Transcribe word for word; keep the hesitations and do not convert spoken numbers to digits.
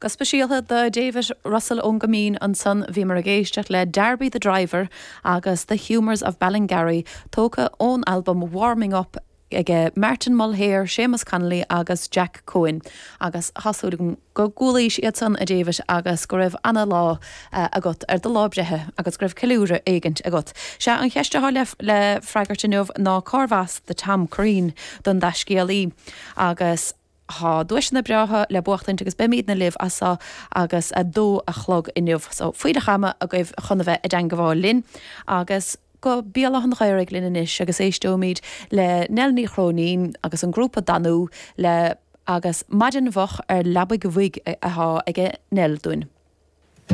Go speisialta do David Russell ón gCoimín ansan bhíomar ag éisteacht le Darby the Driver agus The Humours of Ballingarry tógtha ón album Warming Up ag Martin Mulhare, Seamus Connolly agus Jack Cohen agus tá súil agam go gcualaís iad san a David agus go raibh an-lá uh, agat ar do lá breithe agus go raibh ceiliúradh éigin agat. Sé an cheist atá le, le freagairt inniu ná cárbh as do Tom Crean don dtaiscéalaí agus Tá duaiseanna breátha le buachtaint agus beimidne libh as seo agus a dó a chlog inniu, so faoileach ama agaibh chun a bheith i dteagmháil linn agus go Béal Átha an Ghaorthaidh linn anois agus éisteoimid le Nell Ní Chróinín agus an grúpa Danú le agus maidin mhoch ar leabaidh bhig atá aige Nell dúinn.